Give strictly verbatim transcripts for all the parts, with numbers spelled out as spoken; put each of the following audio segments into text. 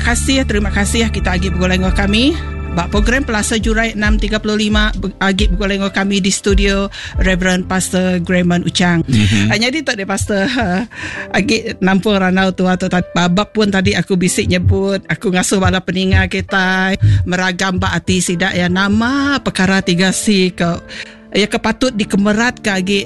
kasih, terima kasih kita agi begulai dengan kami. Bak program Pelasa Jurai enam tiga puluh lima agi begulai dengan kami di studio Reverend Pastor Grayman Uchang. Mm-hmm. Uh, jadi tak ada pastor uh, agi nampung ranau tu atau babak pun tadi aku bisik nyebut aku ngasuh bala peninga kita meragam bak ati sidak ya nama perkara tiga C ke ya kepatut dikemerat ke agi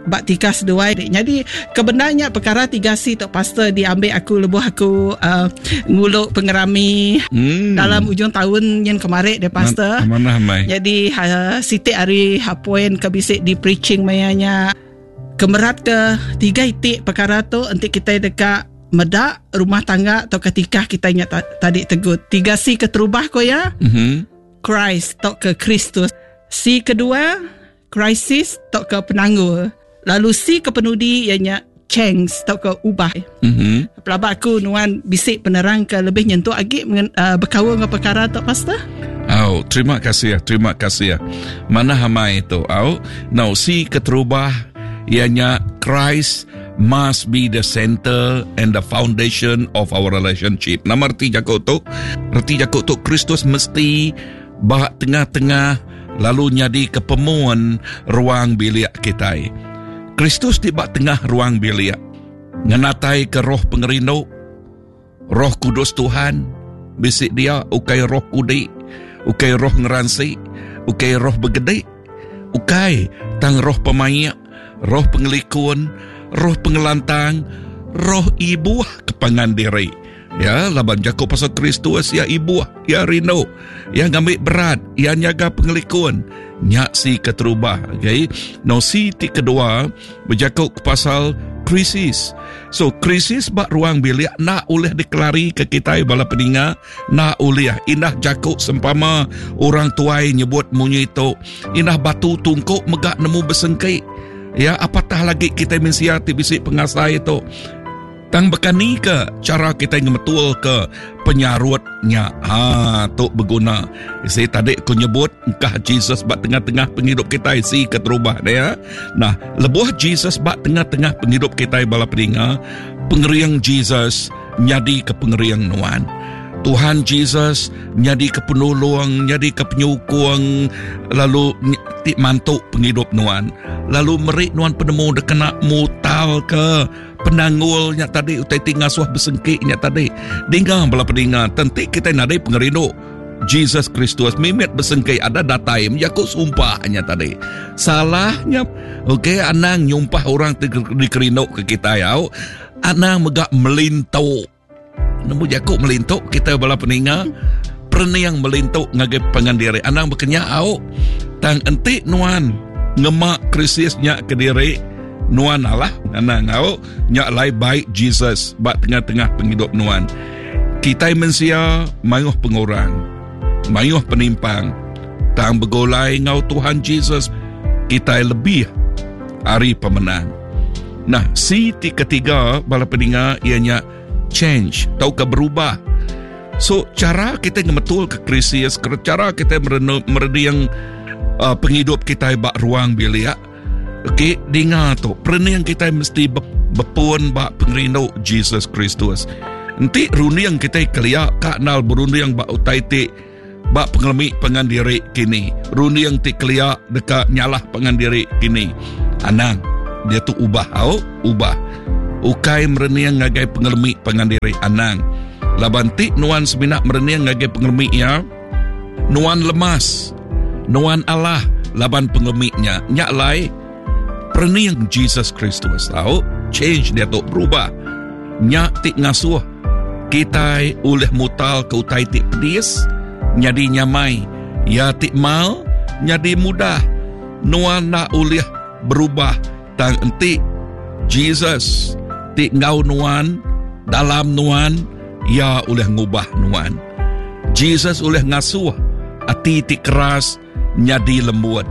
bak tiga seduai. Jadi kebenarnya perkara tiga C tu pastor diambil aku lebuh aku uh, nguluk pengerami hmm. dalam ujung tahun yang kemarin dia pastor. Mana mai. Jadi uh, sitik hari hapoin ke bisik di preaching mayanya kemerat ke tiga itik perkara tu nanti kita dekat medak rumah tangga atau ketika kita ingat ta- tadi tegut. Tiga C keterubah ko ya. Mm-hmm. Christ atau ke Kristus. C kedua krisis atau ke penanggul. Lalu si kepenudi ianya change atau ke ubah. Mm-hmm. Pelabak aku nuan bisik penerang ke lebih nyentuh agi uh, berkaul dengan perkara tu pastor. Oh, terima kasih, terima kasih. Mana hamai itu? Oh, now si keterubah ianya Christ must be the center and the foundation of our relationship. Nama erti jakuk tu, erti jakuk tu Kristus mesti bah tengah-tengah lalu nyadi kepemuan ruang bilik kita. Kristus di bak tengah ruang bilik ngenatai ke roh pengerindu, roh kudus Tuhan bisik dia ukai roh kudik, ukai roh ngeransi, ukai roh begedik, ukai tang roh pemayak, roh pengelikun, roh pengelantang, roh ibuh kepangan diri. Ya, laban Jakob pasal Kristus ya ibuh, ya rindu, ya ngambil berat, ya nyaga pengelikun. Nyak si keterubah, okay? No si ti kedua berjakuk pasal krisis. So krisis bak ruang bilik nak oleh dikelari ke kita bala peninga, nak oleh indah jakuk sempama orang tuai nyebut munyi tu, indah batu tungkuk megak nemu bersengkik. Ya, apatah lagi kita mensia ti bisik pengasai itu. Tang bekani ke cara kita ngemetul ke penyarutnya. Ha, tu berguna. Saya tadi aku nyebut engkah Jesus bak tengah-tengah penghidup kita isi keterubah dia. Nah, lebuh Jesus bak tengah-tengah penghidup kita bala peninga, pengeriang Jesus nyadi ke pengeriang nuan. Tuhan Jesus nyadi ke penolong, nyadi ke penyukung, lalu ti mantuk penghidup nuan. Lalu merik nuan penemu dekena mutal ke penanggulnya tadi, utai ti ngasuh bersengkiknya tadi. Dengar bala peninga, tentik kita nadai pengerindu Jesus Kristus mimit bersengkik ada datai menjakuk sumpahnya tadi. Salahnya, okey, anang nyumpah orang dikerindu ke kita ya. Anang megak melintuk. Nemu jakuk melintuk kita bala peninga, perniang melintuk ngagai pangandiri. Anang berkenyak au. Tang entik nuan ngemak krisisnya ke diri nuan alah anang au nyak lai baik Jesus bak tengah-tengah penghidup nuan. Kita mensia mayuh pengurang, mayuh penimpang. Tang begolai ngau Tuhan Jesus kita lebih ari pemenang. Nah, si ti ketiga bala peninga ianya change atau ke berubah. So cara kita ngemetul ke krisis, cara kita merediang uh, penghidup kita bak ruang bilik. Okey, dengar tu, perening kita mesti bepun bak pengerindu Jesus Kristus. Enti runding kita keliak kak nal berunding bak utai ti bak pengelemi pengandiri kini. Runding ti keliak dekat nyalah pengandiri kini. Anang dia tu ubah au, ubah. Ukai merening ngagai pengelemi pengandiri anang. Laban ti nuan seminak merening ngagai pengelemi ya. Nuan lemas, nuan Allah laban pengelemiknya. Nyak lai perening Jesus Kristus tau, change dia tu berubah. Nyak ti ngasuh kita oleh mutal ke utai ti pedis nyadi nyamai, ya ti mal nyadi mudah. Nuan nak oleh berubah tang enti Jesus ti ngau nuan dalam nuan ya oleh ngubah nuan. Jesus oleh ngasuh ati ti keras nyadi lembut,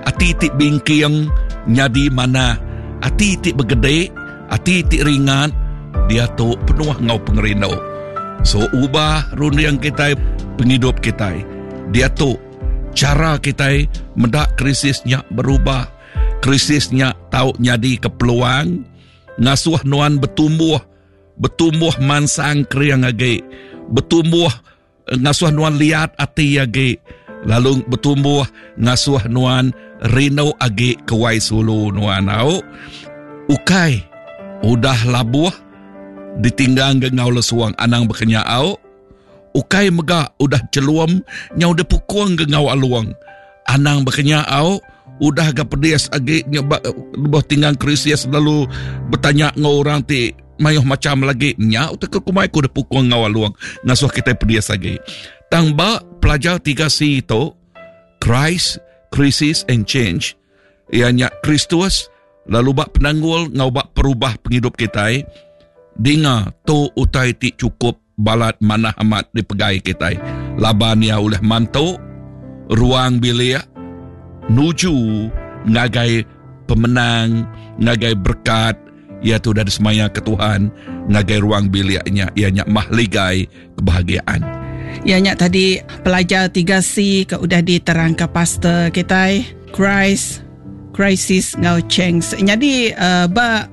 ati ti bingking nyadi mana, ati ti bergede, ati ti ringan, dia tu penuh ngau pengerindu. So ubah runding kita penghidup kita. Dia tu cara kita mendak krisisnya berubah. Krisisnya tau nyadi ke peluang ngasuh nuan bertumbuh, bertumbuh mansang kriang agi, Bertumbuh ngasuh nuan liat ati agi, lalu bertumbuh ngasuh nuan rindu agi ke wai sulu nuan au. Ukai udah labuh ditinggang ke ngau lesuang anang berkenya au. Ukai mega udah celum nyau dipukung ke ngau aluang anang berkenya au. Udah ga pedis agi nyebak lebuh tinggang krisis lalu bertanya ngau orang ti mayuh macam lagi nya utak ke kumai ku dipukung ngau aluang ngasuh kita pedis agi. Tang ba pelajar tiga C itu Christ, Crisis and Change, ianya Kristus lalu bak penanggul ngau bak perubah penghidup kita. Dinga tu utai ti cukup balat manah amat dipegai kita. Laban ia oleh mantu ruang bilik nuju ngagai pemenang, ngagai berkat ia tu dah disemaya ke Tuhan ngagai ruang biliknya, ianya mahligai kebahagiaan. Ianya tadi pelajar tiga C ke udah diterang ke pastor kita, Christ, Crisis ngau Change. Jadi uh, ba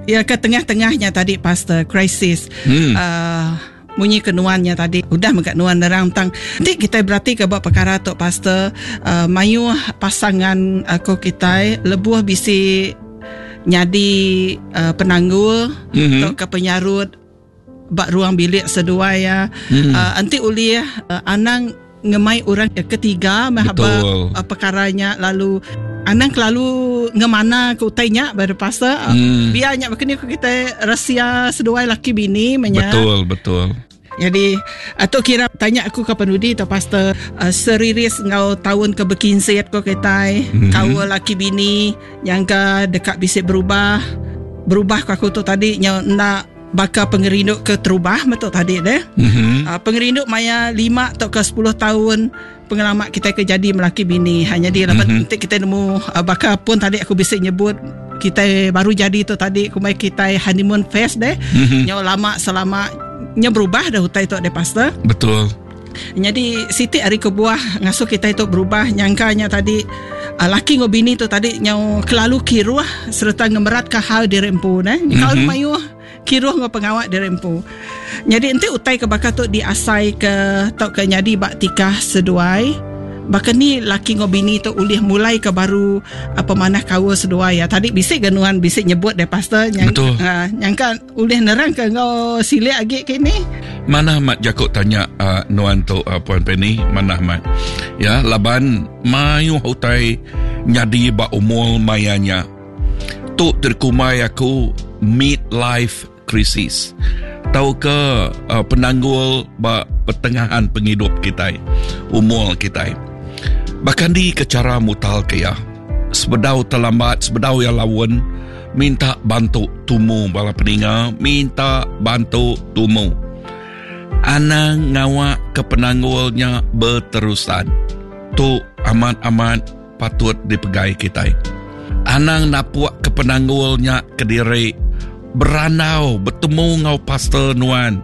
ya ke tengah-tengahnya tadi pastor crisis. Hmm. Uh, munyi kenuannya tadi udah megak nuan nerang tang. Nanti kita berarti ke buat perkara tu pastor, uh, mayuh pasangan aku kita lebuh bisi nyadi uh, penanggul mm-hmm. atau ke penyarut bak ruang bilik seduai ya. Mm. Uh, anti ulih uh, anang ngemai orang ketiga mahaba uh, perkaranya lalu anang kelalu ngemana ke utainya baru pasal mm. biarnya begini kita rahsia seduai laki bini menya. Betul betul. Jadi atau kira tanya aku ke penudi atau pastor uh, seriris ngau tahun ke berkinsit ko kita mm-hmm. kau laki bini yang ke dekat bisik berubah berubah ke aku tu tadi nya nak bakal pengerindu ke terubah betul tadi deh. Mm-hmm. Uh, pengerindu maya lima atau ke sepuluh tahun pengalaman kita ke jadi melaki bini. Hanya dia mm-hmm. nanti kita nemu uh, bakal pun tadi aku bisik nyebut kita baru jadi tu tadi kumai kita honeymoon phase deh. Mm-hmm. Nyo lama selama nya berubah dah utai tu deh pastor. Betul. Jadi siti hari kebuah ngasuh kita itu berubah nyangkanya tadi uh, laki ngau bini tu tadi nyau kelalu kiruh serta ngemerat ke hal diri empu neh. Mm-hmm. Kalau mayuh kiruh ngau pengawak diri empu. Jadi enti utai ke bakal tu diasai ke tau ke nyadi bak tikah seduai. Bahkan ni laki ngau bini tu ulih mulai ke baru apa manah kawa seduai ya. Tadi bisik genuan bisik nyebut deh pastor nyang, uh, nyangka ulih nerang ke ngau silik agi ke ni. Mana mat jakuk tanya uh, nuan tu uh, Puan Penny, mana mat. Ya, laban mayuh utai nyadi ba umur mayanya. Tu terkumai aku midlife crisis. Tau ke uh, penanggul ba pertengahan penghidup kita, umur kita. Bahkan di ke cara mutal ke ya. Sebedau terlambat, sebedau ya lawan, minta bantu tumu bala peninga, minta bantu tumu. Anang ngawak ke penanggulnya berterusan. Tu amat-amat patut dipegai kita. Anang napuak ke penanggulnya ke diri. Beranau bertemu ngau pastor nuan.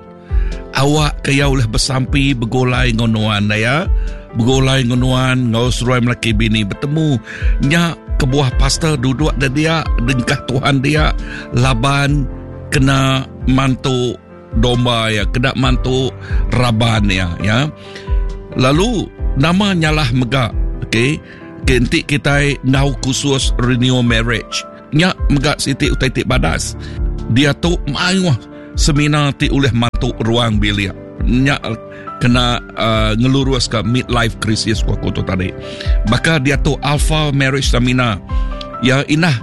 Awak ke ya oleh bersampi bergolai ngau nuan ya. Bergolai ngau nuan ngau seruai melaki bini bertemu nya kebuah pastor duduk dan dia dengkah Tuhan dia laban kena mantu domba ya, kena mantu raban ya ya. Lalu nama nyalah mega okey kentik kita ngau khusus renew marriage. Nya mega siti utai ti badas. Dia tu mayuh seminar ti oleh mantu ruang bilik. Nya kena uh, ngelurus ke midlife crisis ku aku tu tadi. Maka dia tu Alpha Marriage Seminar. Ya inah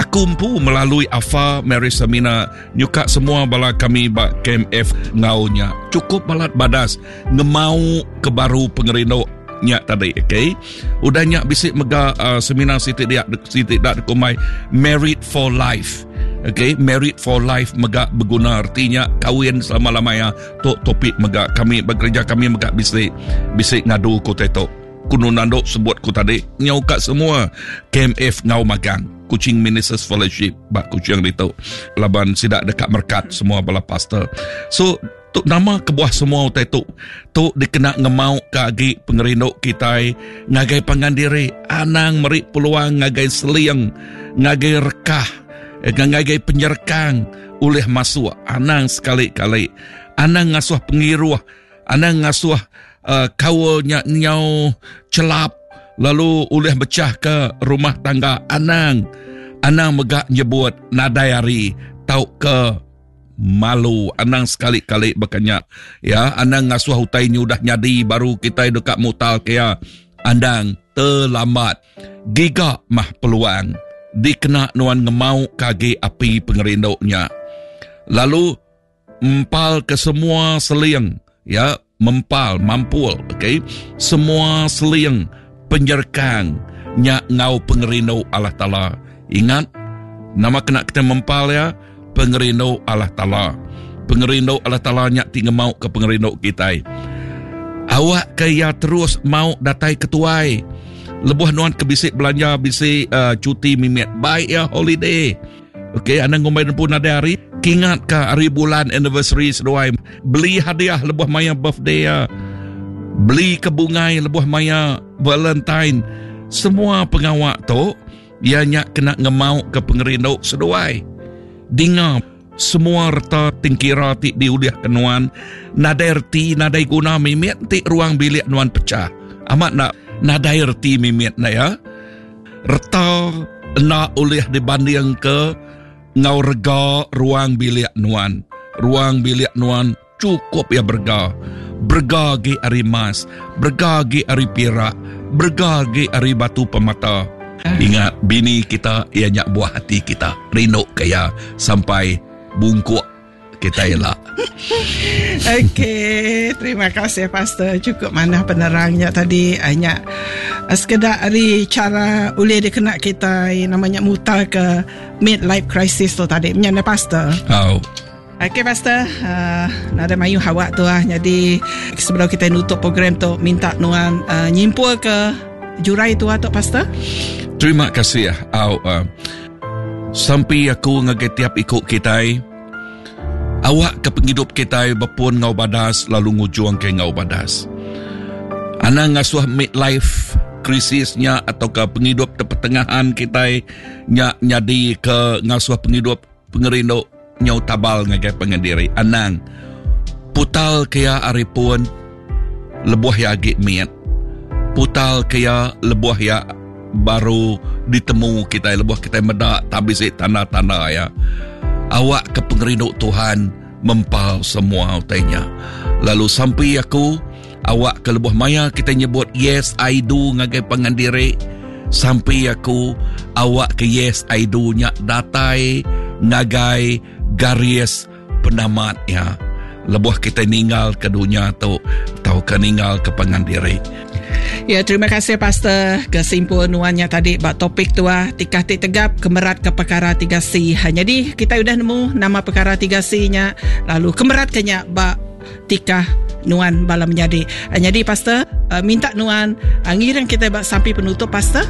aku empu melalui Alpha Marriage Seminar nyuka semua bala kami ba K M F ngaunya. Cukup balat badas ngemau ke baru pengerindu nya tadi okey. Udah nya bisik mega uh, seminar siti dia siti dak kumai Married for Life. Okey, Married for Life mega berguna artinya kahwin selama-lamanya. Tu topik mega kami bekerja kami mega bisik bisik ngadu ku tetok. Kuno nanduk sebut ku tadi nyau kat semua K M F ngau magang Kuching Ministers Fellowship bak Kuching ditu. Laban sidak dekat merkat semua bala pastor. So tu nama kebuah semua utai tu tu dikena ngemau ke agi pengerindu kita ngagai pangan diri anang meri peluang ngagai seliang ngagai rekah ngagai penyerekang ulih masuk anang sekali-kali Anang ngasuh pengiruh, anang ngasuh uh, kawalnya nyau celap lalu ulih pecah ke rumah tangga. Anang anang megak nyebut nadai hari tau ke malu. Anang sekali-kali berkenyak ya. Anang ngasuh utai ni udah nyadi baru kita dekat mutal ke ya. Anang terlambat. Giga mah peluang dikena nuan ngemau kagi api pengerinduknya. Lalu empal ke semua seling ya, mempal mampul okey, semua seling penyerkang nya ngau pengerindu Allah Taala. Ingat nama kena kita mempal ya, pengerindu Allah Taala. Pengerindu Allah Taala nya ti ngemau ke pengerindu kita. Awak ke ya terus mau datai ketuai. Lebuh nuan ke bisik belanja, bisik uh, cuti mimit, baik ya holiday. Okey, anda ngumbai pun ada hari. Kingat ke hari bulan anniversary seduai. Beli hadiah lebuh maya birthday ya. Beli ke bungai lebuh maya Valentine. Semua pengawak tu ia nyak kena ngemau ke pengerindu seduai. Dengar semua reta tingkira ti diuliah ke nuan, nadai erti, nadai guna mimit ti ruang bilik nuan pecah. Amat nak nadai erti mimit nak ya. Reta nak ulih dibanding ke ngau rega ruang bilik nuan. Ruang bilik nuan cukup ya berga. Berga ge ari emas, berga ge ari perak, berga ge ari batu pemata. Ingat bini kita ia nyak buah hati kita. Rindu kaya sampai bungkuk kita elak. Okey, terima kasih Pastor. Cukup mana penerangnya tadi. Hanya sekedar hari cara boleh dikena kita namanya mutar ke midlife crisis tu tadi. Menyana Pastor. Oh. Okey Pastor, uh, nada mayu hawak tu ah. Jadi sebelum kita nutup program tu minta nuan uh, nyimpul ke jurai tu atau Pastor. Terima kasih ah. Uh, sampai aku ngagai tiap ikut kita. Awak ke penghidup kita berpun ngau badas lalu ngujuang ke ngau badas. Anang ngasuh midlife krisisnya atau ke penghidup pertengahan kita nya nyadi ke ngasuh penghidup pengerindu nyau tabal ngagai pengendiri. Anang putal kaya ari pun lebuh ya agi miat. Putal kaya lebuh ya baru ditemu kita lebuh kita medak tabisi tanda-tanda ya. Awak ke pengerindu Tuhan mempal semua utainya. Lalu sampai aku awak ke lebuh maya kita nyebut yes I do ngagai pengandiri. Sampai aku awak ke yes I do nya datai ngagai garis penamat ya. Lebuh kita ninggal ke dunia tu atau ke ninggal ke pengandiri. Ya, terima kasih Pastor kesimpul nuannya tadi bak topik tua tikah ti tegap kemerat ke perkara tiga C. Ha, jadi kita sudah nemu nama perkara tiga C-nya lalu kemerat kenya bak tikah nuan bala menjadi. Ha, jadi Pastor uh, minta nuan uh, ngiring kita bak sampai penutup Pastor.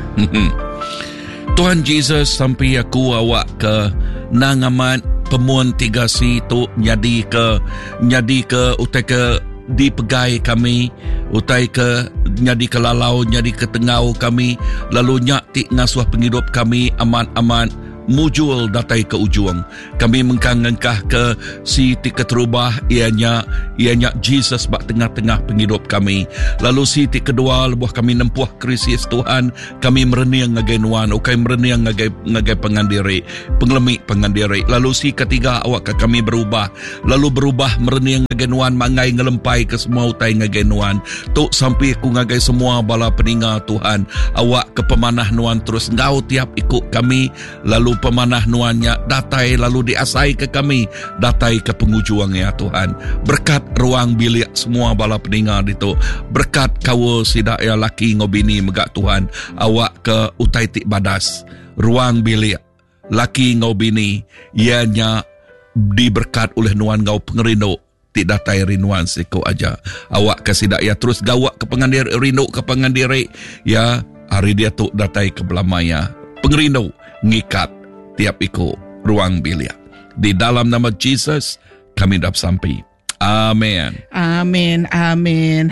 Tuhan Jesus sampai aku awak ke nangamat pemuan tiga C tu jadi ke jadi ke utai ke dipegai kami utai ke nyadi ke lalau nyadi ke tengau kami lalu nyak ti ngasuh penghidup kami amat-amat mujul datai ke ujung. Kami mengkang ngengkah ke si ti keterubah ianya ianya Jesus bak tengah-tengah penghidup kami. Lalu si ti kedua lebuh kami nempuh krisis Tuhan, kami merening ngagai nuan, ukai merening ngagai ngagai pengandiri, pengelemi pengandiri. Lalu si ketiga awak ke kami berubah, lalu berubah merening ngagai nuan mangai ngelempai ke semua utai ngagai nuan. Tuk sampai aku ngagai semua bala peninga Tuhan, awak ke pemanah nuan terus ngau tiap ikut kami, lalu pemanah nuannya datai lalu diasai ke kami datai ke pengujuang ya Tuhan. Berkat ruang bilik semua bala peninga ditu, berkat kawa sidak ya laki ngobini megak Tuhan, awak ke utai tik badas ruang bilik laki ngobini ianya diberkat oleh nuan ngau pengerindu tik datai rinuan siko aja. Awak ke sidak ya terus gawak ke pengandir rindu ke pengandiri ya hari dia tu datai ke belamaya pengerindu ngikat tiap iko ruang bilik. Di dalam nama Jesus kami dap sampai. Amin. Amin. Amin.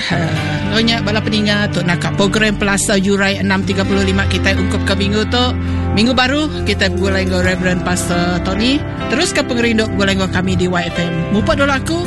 Nyonya bala peninga tu nak program Pelasa Jurai enam tiga puluh lima kita ungkup ke minggu tu. Minggu baru kita bergulai dengan Reverend Pastor Tony. Terus ke pengerindu bergulai dengan kami di Y F M. Mupak dulu aku.